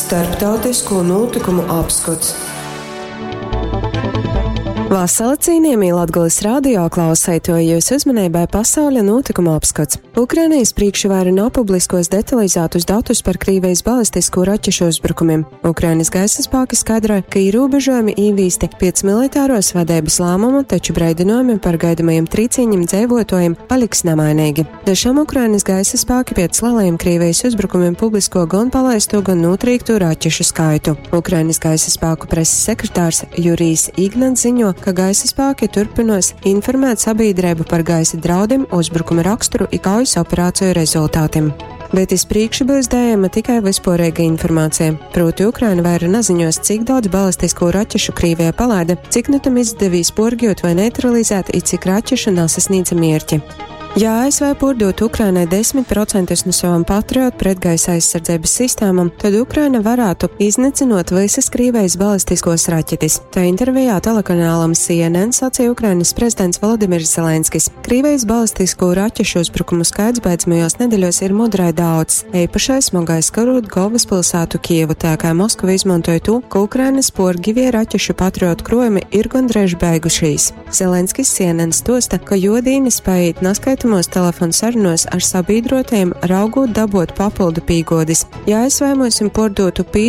Starptautisko nūtykumu apskots. Vasala cīnījamī Latgales radio klauseitoji, jūsu uzmanībai pasauļa nūtykuma apskats. Ukrainijas priekšvaira nav publiskos detalizētus datus par Krīvijas balistisko raķešu uzbrukumiem. Ukrainas gaisa spēki skaidroja, ka ierobežojumi īvīsti pēc militāros vadeibas lēmuma, taču breidinojumi par gaidamajiem trīcīņiem dzēvotojiem paliks nemainīgi. Dažam Ukrainas gaisa spēki pēc lielajiem Krīvijas uzbrukumiem publisko gan palaisto, gan notrīkto raķešu skaitu. Ukrainas gaisa spēku preses sekretārs Jurijs Ignats ziņo, ka gaisa spēki turpinos informēt sabiedrību par gaisa draudiem, uzbrukuma raksturu i kaujas operāciju rezultātiem. Bet iz priekšu būs dējama tikai vispārīga informācija. Proti, Ukraina vaira naziņos, cik daudz balistisko raķešu Krīvija palaida, cik nu tam izdevīs porgjot vai neutralizēt, i cik raķešu nasasniedza mierķi. Ja ASV pārdotu Ukrainai 10% no savām Patriot pretgaisa aizsardzības sistēmām, tad Ukraina varētu iznicinot visas Krīvijas balistiskos raķetes. Tā intervijā telekanālam CNN sacīja Ukrainas prezidents Volodimirs Zelenskis. Krīvijas balistisko raķešu uzbrukumu skaits beidzamajos nedēļos ir mudrai daudz. Eipašai smagai skarot galvaspilsētu Kievu, tā kā Moskava izmantoja to, ka Ukrainas porgivie raķešu Patriot krojumi ir gandrīz beigušies. Zelenskis CNN stosta, ka jodīni spēj naskaitamos telefonu sarunos ar sabiedrotajiem, raugot dabot papildu pīgodis. Ja ASV mums pārdotu 5